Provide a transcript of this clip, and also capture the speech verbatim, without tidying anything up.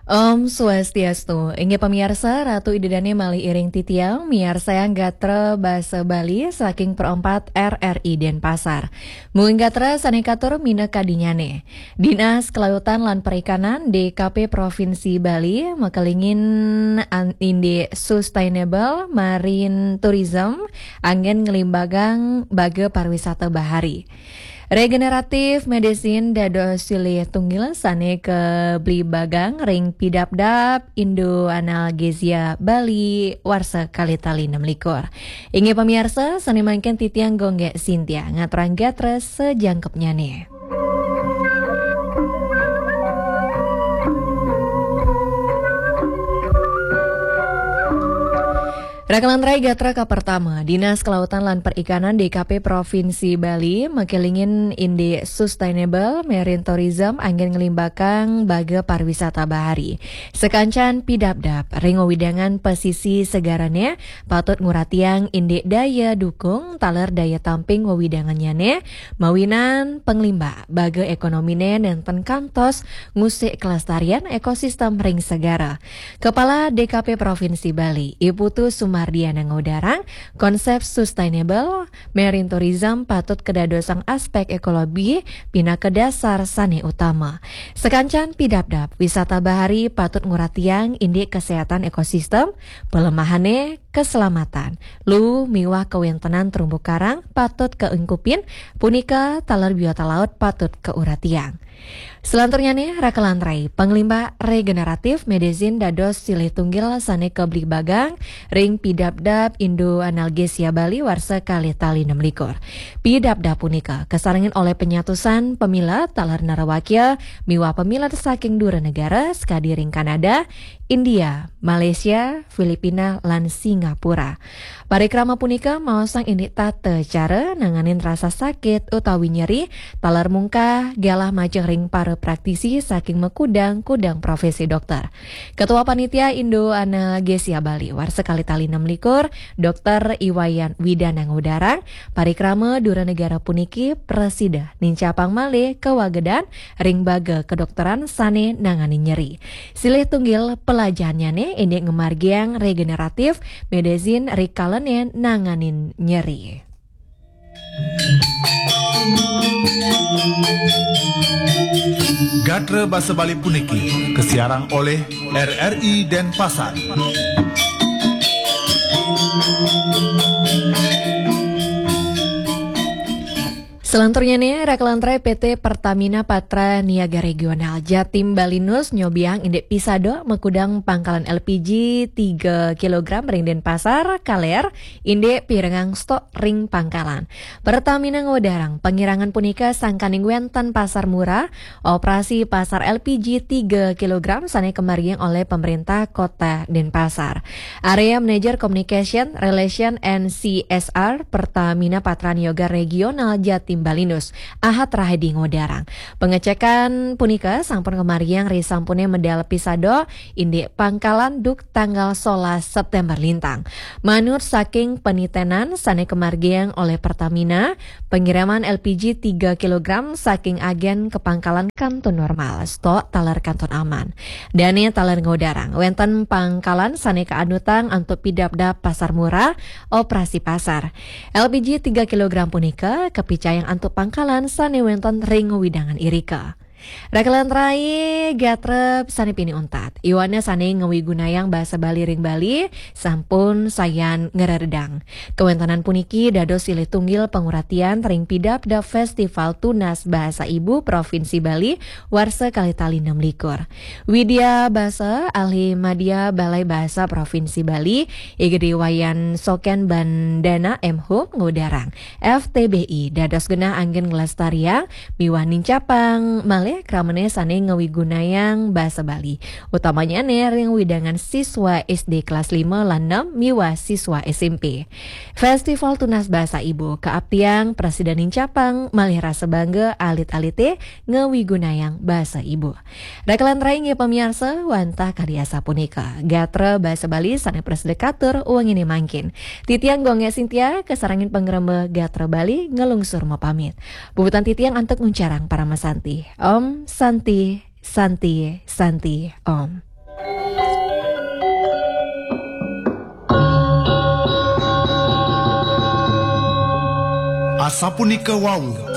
Om Swastiastu. Inggih pamiarsa, Ratu Ida Dane malih iring titiang miarsayang gatra basa Bali saking Pro empat R R I Denpasar. Mungguing gatra sane katur minakadinyane. Dinas Kelautan lan Perikanan, D K P, Provinsi Bali makelingin an-, indik Sustainable Marine Tourism anggen nglimbagang baga pariwisata bahari. Regenerative Medicine dados silih tunggil sane kablibagang ring Pidabdab Indo Analgesia Bali warsa kalih tali nem likur. Inggih pamiarsa, sane mangkin titiang Gonggek Sintia ngaturang gatra sajangkepnyane. Rakalantrai gatra kapertama, Dinas Kelautan lan Perikanan, D K P, Provinsi Bali makelingin indik Sustainable Marine Tourism anggen nglimbagang baga pariwisata bahari. Sakancan pidabdab ring wewidangan pesisi segarane patut nguratiang indik daya dukung taler daya tamping wewidangannyane, mawinan panglimbak baga ekonomine nenten kantos ngusik kelestarian ekosistem ring segara. Kepala D K P Provinsi Bali, I Putu Sumardiana ngudarang, konsep sustainable marine tourism patut kadadosang aspek ekologi pinaka dasar sane utama. Sakancan pidabdab, wisata bahari patut nguratiang indik kesehatan ekosistem, pelemahane keselamatan, luu miwah kawentenan terumbu karang patut kaengkupin, punika taler biota laut patut kauratiang. Selanturnyane, rakalantrai, panglimbak regeneratif medicine dados silih tunggil sane kablibagang ring Pidabdab Indo Analgesia Bali warsa kalih tali nem likur. Pidabdab punika kasarengin olih penyatusan pamilet taler nerawakya miwah pamilet saking dura negara sakadi ring Kanada, India, Malaysia, Filipina, lan Singapura. Parikrama punika maosang indik tata cara nanganin rasa sakit utawi nyeri, taler mungkah galah majeng ring para praktisi saking makudang-kudang profesi dokter. Ketua Panitia Indo Analgesia Bali warsa kalih tali nem likur, Dokter Iwayan Widana ngudarang, parikrama dura negara puniki prasida nincapang malih kawagedan ring baga kedokteran sane nanganin nyeri. Silih tunggil pelajahannyane indik ngamargiang regeneratif medicine rikalane nanganin nyeri. Gatra basa Bali puniki kasiarang olih R R I Denpasar. Selanturnyane, rakalantrai, P T Pertamina Patra Niaga Regional Jatim Balinus nyobiang indik pisado makudang pangkalan L P G tiga kilogram ring Denpasar, kaler indik pirengang stok ring pangkalan. Pertamina ngudarang pangirangan punika sangkaning wenten pasar murah, operasi pasar L P G tiga kilogram sane kamargiang olih pemerintah Kota Denpasar. Area Manager Communication, Relation and C S R Pertamina Patra Niaga Regional Jatim Balinus, Ahad Rahadi ngudarang, pengecekan punika sampun kamargiang risampune medal pisado indik pangkalan duk tanggal solas September lintang. Manut saking penitenan sane kamargiang olih Pertamina, pengiriman L P G tiga kilogram saking agen ka pangkalan kantun normal, stok taler kantun aman. Dane taler ngudarang, wenten pangkalan sane kaanutang antuk pidabdab pasar murah, operasi pasar. L P G tiga kilogram punika kapicayang antuk pangkalan sane wenten ring wewidangan irika. Rakalantrai gatra sane pinih untat, yowana sane ngawigunayang basa Bali ring Bali sampun sayan ngreredang. Kawentenan puniki dados silih tunggil panguratian ring pidabdab Festival Tunas Bahasa Ibu Provinsi Bali warsa kalih tali nem likur. Widya Basa, ahli madya Balai Bahasa Provinsi Bali, I Gede Wayan Soken Bandana M Hum ngudarang, F T B I dados genah anggen nglestariang miwah nincapang malih kramane sane ngawigunayang basa Bali, utamanyane ring wewidangan siswa S D kelas lima lan enam miwah siswa S M P. Festival Tunas Bahasa Ibu kaaptiang prasida nincapang malih rasa bangga alit-alite ngawigunayang basa ibu. Rakalantrai, inggih pamiarsa, wantah kadi asapunika gatra basa Bali sane prasida katur wengine mangkin. Titiang Gonggek Sintia, kasarengin pangremba Gatra Bali, nglungsur mapamit. Puputang titiang antuk nguncarang parama santi. Om Santi, Santi, Santi, Om. a sapu ni kawau.